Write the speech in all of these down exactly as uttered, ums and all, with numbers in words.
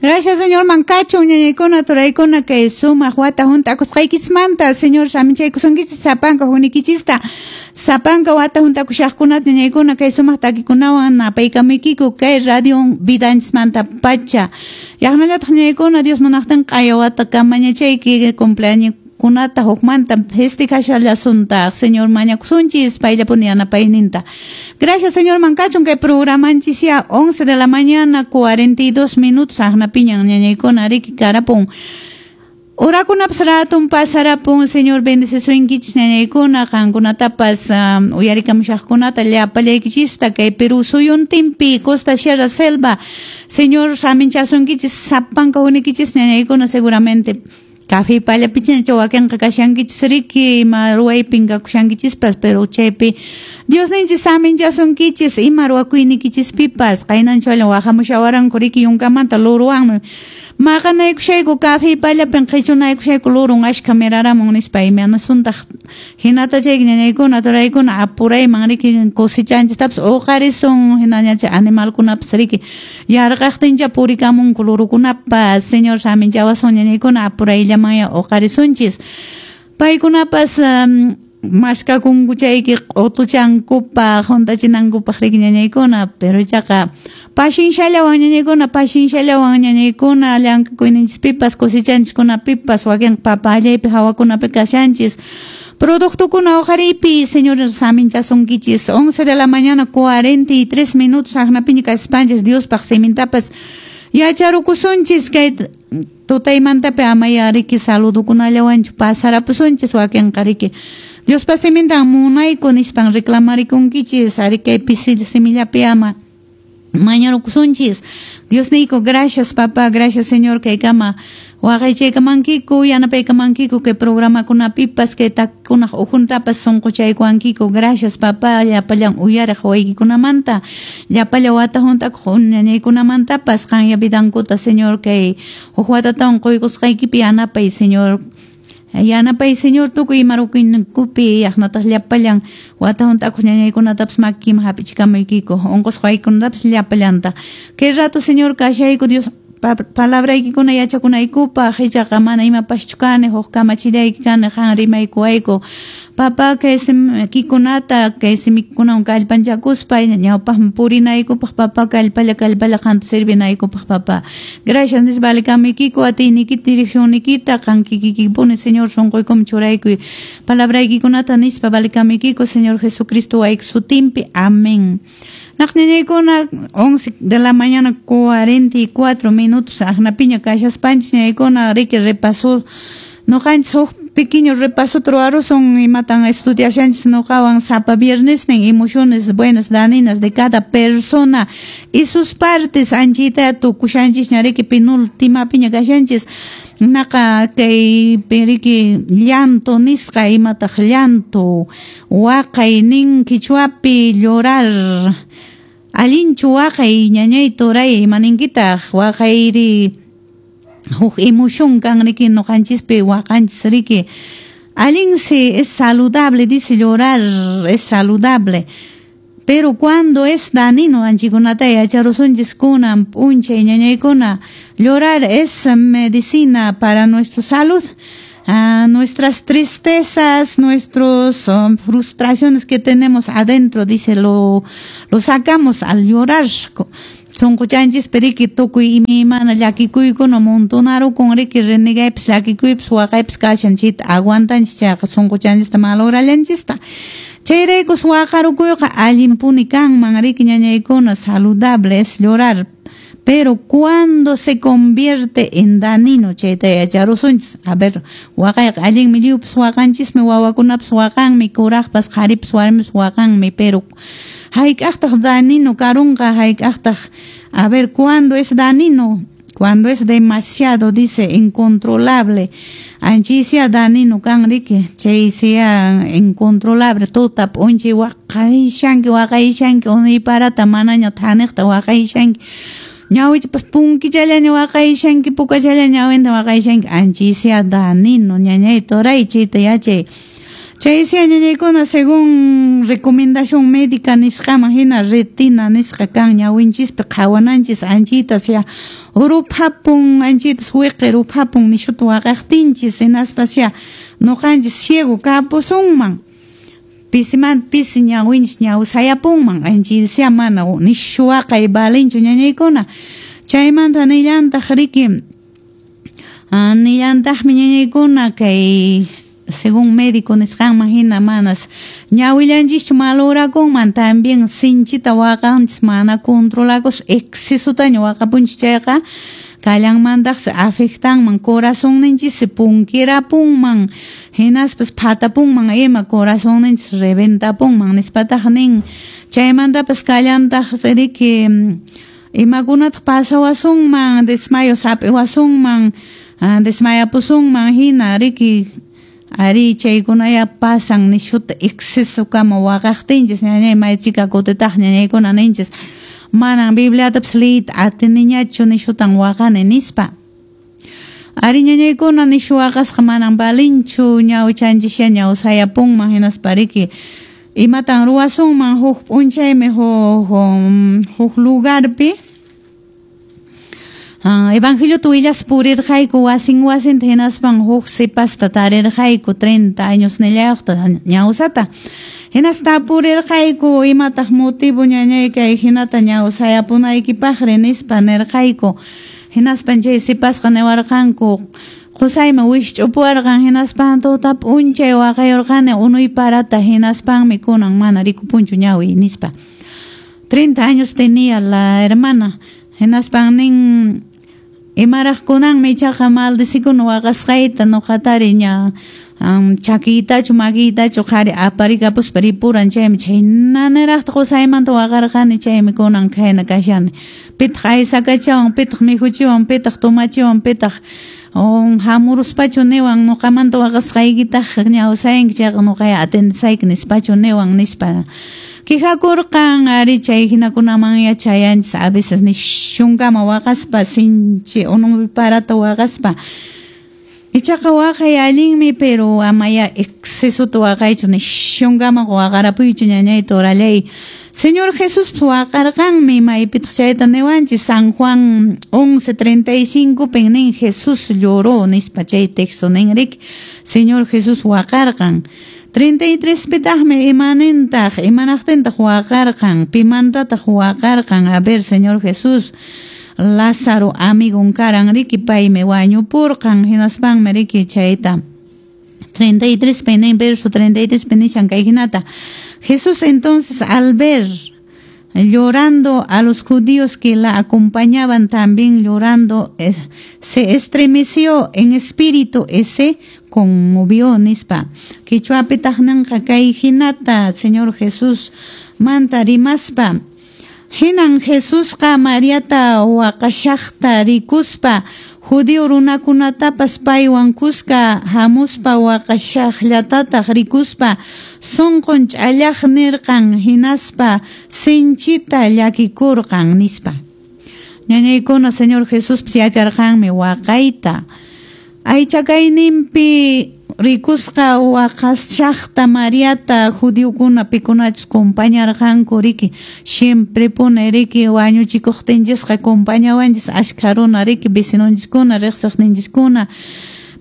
Gracias, Señor mankachun, ñañaykuna, turaykuna, kay sumaq wata hunt'akusqaykichismanta, Señor saminchaykusunkichis sapanka hunikichista, sapanka wata hunt'akushaqkunata ñañaykuna kay sumaq takikunawan napaykamuykiku kay radio vidanchismanta pacha. Yaqnallataq ñañaykuna Dios munaqtin q'aya wata kamañachayki cumpleaños kunata hukmanta festejashallasunta Señor mañakusunchis payllapuni yanapayninta. Gracias, Señor mankachun kay programanchis ya once de la mañana cuarenta y dos minutos aqnapiñan ñañaykuna riki karapun. Orakunapas ratun pasarapun, Señor bendecisunkichis ñañaykuna qankunatapas um, uyarikamushaqkunata llapallaykichista kay Perú suyuntinpi Costa Sierra Selva. Señor saminchasunkichis sapanka hunikichis ñañaykuna seguramente café pallapicha wakinqa kashankichis riki ima ruwaypin kakushankichispas, pero chaypi Dios ninchis saminchasunkichis ima ruwakuynikichispipas qaynanchawallan waqamushawaranku riki yunkamanta luruwanmi maqanaykushayku café pallapin qhichunaykushayku lurun ashka miraramun nispa imanasuntaq hinata chayki ñañaykuna turaykuna apurayman riki cosechanchistapas uqarisun hinañacha animalkunapas riki yarqaqtincha purikamunku lurukunapas. Señor saminchawasun ñañaykuna apurayllaman uqarisunchis paykunapas um, maskakunku chayki q'utuchankupaq hunt'achinankupaq riki ñañaykuna, pero ichaqa pashinshallawan ñañaykuna pashinshallawan ñañaykuna llank'akuyninchispipas cosechanchikunapipas wakin papa allaypi hawakunapi kashanchis productokuna uqariypi Señor saminchasunkichis. Once de la mañana cuarenta y tres minutos aqnapiña kaspanchis Diospaq simintapas yacharukusunchis kay tutaymantapi amaya riki saludukunallawanchu pasarapusunchis wakinqa riki Diospa simintan munayku nispan reclamarikunkichis ari kay pisi simillapi ama mañarukusunchis. Dios niyku, gracias papá, gracias Señor kay kama waqaychaykamankiku yanapaykamankiku kay programakunapipas kay takikunaq ukhuntapas sunquchaykuwankiku. Gracias papá, llapallan uyariq waykikunamanta llapalla wata hunt'akuq ñañaykunamantapas qanya vidankuta Señor kay huk watatawan quykusqaykipi yanapay Señor. Yanapay Señor tukuy ima ruwayninkupi yaqnataq llapallan wata hunt'akuq ñañaykunatapas makiman hap'ichikamuykiku unqusqa waykunatapas llapallanta. Kay rato Señor kashayku Dios palabraykikuna yachakunaykupaq ichaqa mana imapaschu kani huk kamachillayki kani qan rimaykuwayku papá kay simikikunata kay simikunawan kallpanchakuspa ñawpaqman purinaykupaq papá kallpalla kallpalla qanta servinaykupaq papá. Gracias nispa valikamuykiku atiynikita direccionnikita qan kikikipuni Señor sunquykuman churaykuy palabraykikunata nispa valikamuykiku Señor Jesucristo wayki sutinpi. Amén. Naqñañaykuna once de la mañana cuarenta y cuatro minutos aqnapiña kashaspanchis ñañaykuna riki repaso noqanchis huk pequeño repaso ruwarusun imatan estudiashanchis noqawan sapa viernesnin emociones buenas daninas de cada persona y sus partes anchita tukushanchis ñariki penúltimapiña kashanchis naqa kay riki llanto nisqa imataq llanto waqay nin quichuapi llorar allinchu waqay ñañay turay imaninkitaq waqayri huk emoción kan riki noqanchispi waqanchis riki allinsi es saludable dice llorar es saludable. Pero cuando es danino, anchikunata yacharusunchis kunan p'unchay ñañaykuna, llorar es medicina para nuestra salud. Ah, nuestras tristezas, nuestras um, frustraciones que tenemos adentro, dice, lo, lo sacamos al llorar. Sunquchanchis periki tukuy imaymana llakikuykuna montonarukun riki renegaypis llakikuypis waqaypis kashan chayta aguantanchis chayqa sunquchanchista malograllanchista. Chayraykus waqarukuyqa allinpuni kanman riki ñañaykuna, saludable es llorar. Pero cuando se convierte en danino, chayta yacharusunchis. A ver, waqayqa allinmi lliwpas waqanchismi, wawakunapas waqanmi, kuraqpas, qharipas, warmipas waqanmi, pero hayk'aqtaq danino karunqa, hayk'aqtaq, a ver, ¿cuándo es danino? Cuando es demasiado, dice, incontrolable. Anchisia danino kan riki, chaysia incontrolable, tuta p'unchay waqayshanki, waqayshanki, unayparata manaña thaniqta waqayshanki. Ñawichpas punkichallaña waqayshanki, pukachallaña ñawinta waqayshanki, anchisia danino, ñañay turay, chayta yachay. Chay ñañaykuna según recomendación médica nisqaman hina retina nisqa kan ñawinchispi qhawananchis anchitas ya ruphapun, anchitas wiqi ruphapun nishuta waqaqtinchis, hinaspas ya nuqanchis ciego kapusunman, pisimanta pisi ñawinchis ñawsayapunman, anchitas ya mana nishu waqay valinchu ñañaykuna. Chaymanta nillantaq riki, nillantaqmi ñañaykuna kay según médico nisqanman hina manas ñawillanchischu malorakunman, también sinchita waqanchis mana controlakus excesotaña waqapunchis chayqa kallanmantaqsi afectanman corazonninchis punkirapunman, hinaspas phatapunman ima corazonninchis reventapunman nispataq nin. Chaymantapas kallantaqsi riki imakunataq pasawasunman, desmayo hap'iwasunman, desmayapusunman hina riki. Ari chaykunaya pasan nishuta excesokama waqaqtinchis ñañay maychika kutitaq ñañaykuna ninchis manan Bibliatapas liyta atiniñachu nishutan waqani nispa. Ari ñañaykuna nishu waqasqa manan valinchu, ñawichanchis ñawsayapunman hinaspa riki imatan ruwasunman huk p'unchaymi huk huk lugarpi Evangeliota willaspa purirqayku wasin wasinta, hinaspan huk sipasta tarirqayku treinta años nillayuqta ñawsata. Hinasta purirqayku imataq motivo ñañay kay hinata ñawsayapunaykipaqri nispa nirqayku. Hinaspan chay sipasqa niwarqanku qusaymi wikch'upuwarqan, hinaspan tuta p'unchay waqayurqani unuy parata, hinaspanmi kunan mana rikupunchu ñawiy nispa. Treinta años tenía la hermana. Hinaspan nin imaraq kunanmi ichaqa maldecikuna waqasqayta nuqatari ña chakiytachu makiytachu qhari aparikapuspa ripuran, chaymi chhaynaniraqta qusaymanta waqarqani, chaymi kunan khayna kashani. Pitaq aysakachawan, pitaq mikhuchiwan, pitaq tomachiwan, pitaq hamuruspachu niwan nuqamanta waqasqaykitaq ñawsayanki chayqa nuqaya atendesayki nispachu niwan nispa. Quejakurqan ari chay hinakunaman yachayanchis a veces nishunkama waqaspa sinchi unupi parata waqaspa. Ichaqa waqay allinmi, pero amaya excesota waqaychu nishunkama waqarapuychu ñañay torallay. Señor Jesús waqarqanmi maypitaq chayta niwanchis San Juan once treinta y cinco pin nin Jesús lloró nispa chay texto nin riki Señor Jesús waqarqan. treinta y tres pitaqmi imanintaq imanaqtintaq waqarqan pimantataq waqarqan. A ver, Señor Jesús, Lázaro amigon karan riki paymi wañupurqan, hinaspanmi riki chayta treinta y tres pinin verso treinta y tres pinishan kay hinata. Jesús entonces al ver llorando a los judíos que la acompañaban también llorando, se estremeció en espíritu y se conmovió nispa. Quichuapitaq ninqa kay hinata Señor Jesús manta rimaspa. Hinan Jesusqa Mariata waqashaqta rikuspa judío runakunatapas paywan kuska hamuspa waqashaqllatataq rikuspa sunqun ch'allaq nirqan, hinaspa sinchita llakikurqan nispa. Ñañaykuna Señor Jesús yacharqanmi waqayta. Aychakayninpi rikusqa waqashaqta Mariata judiokuna pikunachus compañarqanku riki siempre pone riki wañuchikuqtinchisqa compañawanchis ashkha runa riki vecinonchiskuna riqsiqninchiskuna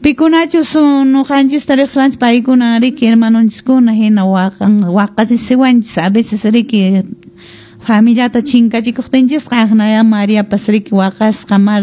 pikunachus nuqanchista riqsiwanchis paykuna riki hermanonchiskuna hina waqan waqachisiwanchis a veces riki familiata chinkachikuqtinchisqa aqnaya Mariapas riki waqasqa